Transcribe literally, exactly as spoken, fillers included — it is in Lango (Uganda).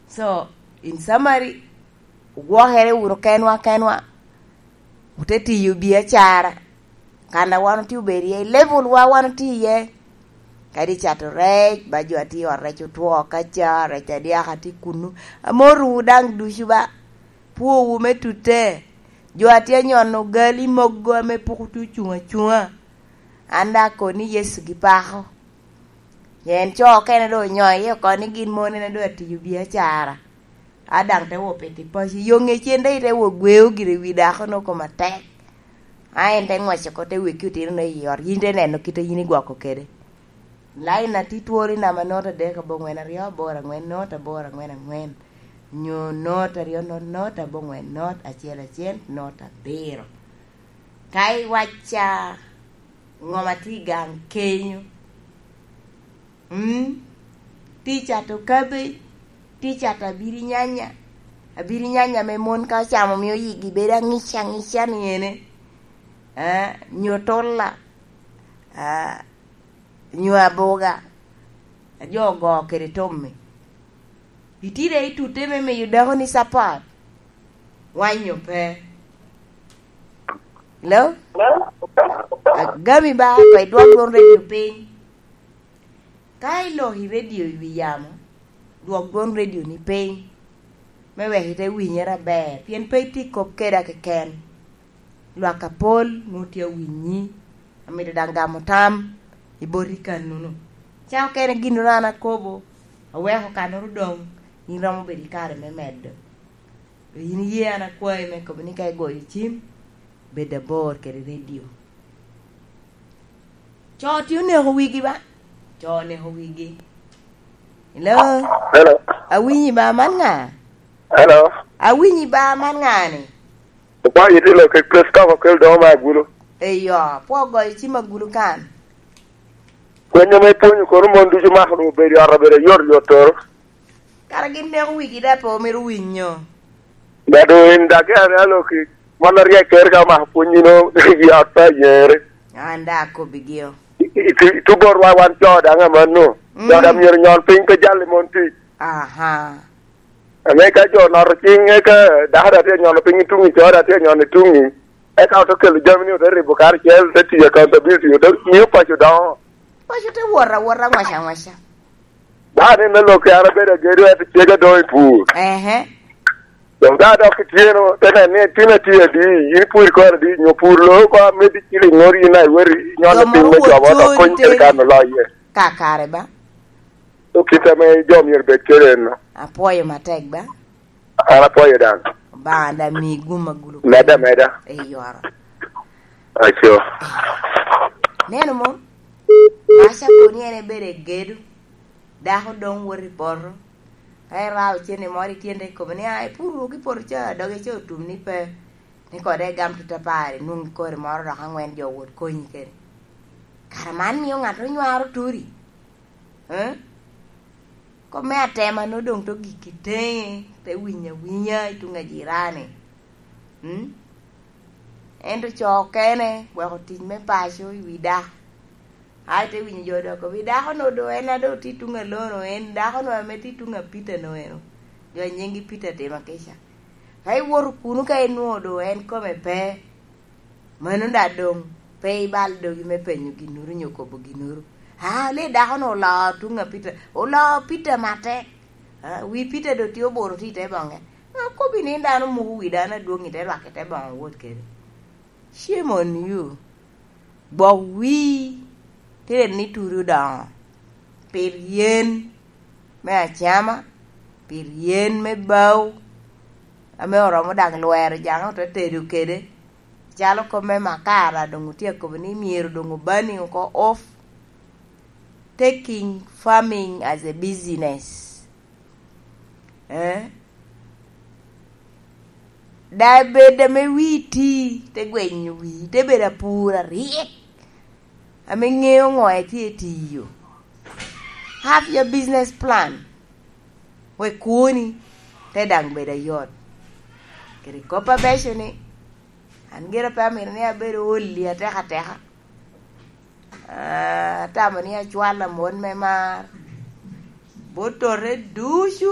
So, in summary, ogwokere wunu kenwa kenwa, ote tiyo biacara, kan a wan otye obedo iye, i level wa wan otye iye. Kadi cato rec, ba jo a tye i ot rec otwo ka ca, rec adyaka tye kunu. Amotowu daŋ ducu ba, pwowu me tute. Jo a tye anyono gali mogo ame pok otye ocuŋ acuŋa, an daŋ akoni Yecu gipako. En co okene doŋ onyoo iye oko ni gin mon en doŋ atiyo biacara. A daŋ te wo pito i paco, yo ŋecen daŋ ite wo gweo gire wi dako-nu kome atek. A en te ŋwec oko te weki otino-nu i ot, yin te neno kite yin igwoko kede. Lain atit twolo i namba not adek aboŋwen aryo aboro aŋwen not aboro aŋwen aŋwen, nyo not aryo not not aboŋwen not acel acel not abiro. Ka iwacca ŋoma tye i gang kenyo, mm, tye cato cabbage, tye cato abirinyanya, abirinyanya me mon ka ocamo mio yigi bedo aŋic aŋica ni ene, ah, nyo tolla, ah, nyo aboga, a jo ogo kede tommi. Itide i tute me miyo dako ni support, wanyo pe. Hello? Agami ba, ko idwok dwon redio piny. Ka iloko i redio i wi yamo, dwok dwon redio ni piny, me wek ite winyere aber, pien pe itye kop keda keken. Lwak apol nwoŋo tye awinyi, amito daŋ gamo tam i boti kannuno. Ca okene ginnoro an akobo, aweko kannoro doŋ, in romo bedo i kare me medo. In iye an akwayi me kobo ni ka igoyo cim, bed abor kede redio. Co tye oneko wigi ba? Co oneko wigi. Hello? Hello. Awinyi ba, man ŋa? Hello. Awinyi ba, man ŋa ni? Okwai itilo kede Christopher Okel doŋo me Agulu. Eyo, pwo goyo cim Agulu kan. Kwenyo me pwonyo kono mon ducu mako doŋ obedo i ot obedo ayot yot toro. Kara gin neko wigi daŋ pe omito winyo. Dado in dage ame aloki, mon aryek kere ka omako pwonyi no, i ot pe ayere. An daŋ akobbi gio. I, i, i, tu bot wa wan co daŋ amanno. Mm. Co daŋ myero nyon piny pe jal i mon tic. Aha. Ame ka jo noto cing, eka dako daŋ tye nyono piny i tuŋi, co daŋ tye nyono i tuŋi. Eka ote kelo jami ni ote ribo karacel, ote tiyo accountability, ote miyo paco doŋo. Paco te wot awota ŋwaca ŋwaca. Dano en aloki an abedo agedo, ento cega doŋ i pur. Ehe. Doŋ ka dok ityeno, te nen ni itino atye adi, in pur ikoro adi, nyo pur lo oko ameddi ciliŋ ŋori in a iwoti nyono piny me cobo, dok kony kede kan oloye. Kakare ba. So kit ame jo myero bed kede en no. Apwoyo matek ba. An apwoyo daŋ. Obaŋa daŋ mi gum agulu. Meda, meda. Eyo oro. Aco. Neno mo? Maca koni en ebedo egedo. Dako doŋ wot i poto. Ka irao cene moro i tyende i kome ni, "Ai, pur wok i poto ca, doge ca otum ni pe." Ni kode egam tutapari, nwoŋo kori moro dok aŋwen jo wot konyi kede. Kara man miyo ŋat onywaro turi? Eh? Kop me atema no doŋ to gik i teŋe, te winyo awinya i tuŋ ajirani. Mm? Ento co okene weko tic me paco i wi dako. Ai, te winyo jo dok obi, "Dako no do en a do tye tuŋ alono, en dako no ame tye tuŋ a Peter no eno." Jo a nyinggi Peter timo kica. Ka iwoto kuno ka inwoŋo do en kome pe, mano daŋ doŋ pe ibal dogi me penyo ginnoro nyo kobo ginnoro. "Ah, le dako no oloo tuŋ a Peter, oloo Peter matek. Ah, wi Peter do tye oboro tye i te boŋe." Akobi ni dano muko wi dano adwoŋ i te rwak i te boŋo wot kede. Shame on you. Gwok wii, tye ni turi odoŋo. Pit yen me acama, pit yen me bao, ame oromo daŋ lwero jaŋe ote tedo kede. Calo kop me makara doŋ otye akobo ni myero doŋ obani oko off. Taking farming as a business. Eh? Daŋ bed ame wii ti, te gwenyo wii, te bedo apur aryek, ame ŋeo ŋo etye tiyo. Have your business plan. Wek kwoni te daŋ bedo ayot. Kede kop abeco ni, an gire pe amito ni abedo oli ateka ateka. Ah, atamo ni acwalo amot me mar bot tote ducu.